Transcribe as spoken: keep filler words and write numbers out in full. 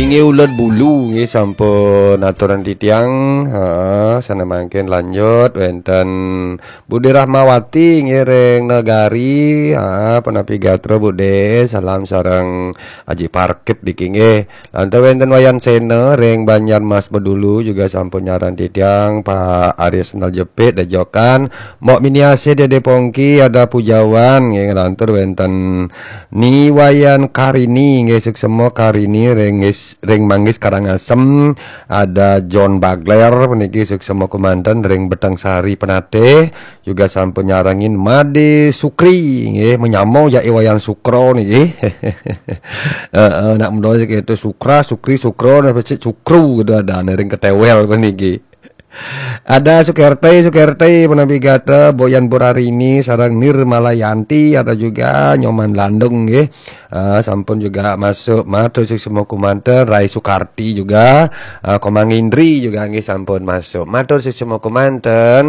Nggih, Ulet Bulu nggih sampun aturan titiang. Heeh, sana mangkin lanjut wenten Bude Rahmawati nggih ring Negari. Heeh, punapi gatra Bude, salam sareng Aji Parkit niki nggih. Lantas wenten Wayan Sena ring Banjar Mas Bedulu juga sampun nyaran titiang, Pak Arya Sendal Jepit Dejokan, Mbok Miniase Dede Pongki, ada Pujawan nggih, lantur wenten Ni Wayan Karini nggih, suksema Karini ring Ngis-, ring Manggis Karangasem, ada John Bagler puniki suksema kumanten ring Beteng Sari Penatih, juga sampun nyarengin Made Sukri nggih, menyamo jake Wayan Sukro niki. Heeh, nak mendol itu Sukra, Sukri, Sukro, napa sih Sukru gitu ada ring ketewel puniki. Ada Sukerte, Sukerte, punapi gatra, Boyan Burarini, sareng Nirmalayanti, ada juga Nyoman Landung nggih. Eh, sampun juga masuk, matur suksma kumanten, Rai Sukarti juga, eh, Komang Indri juga nggih sampun masuk. Matur suksma kumanten.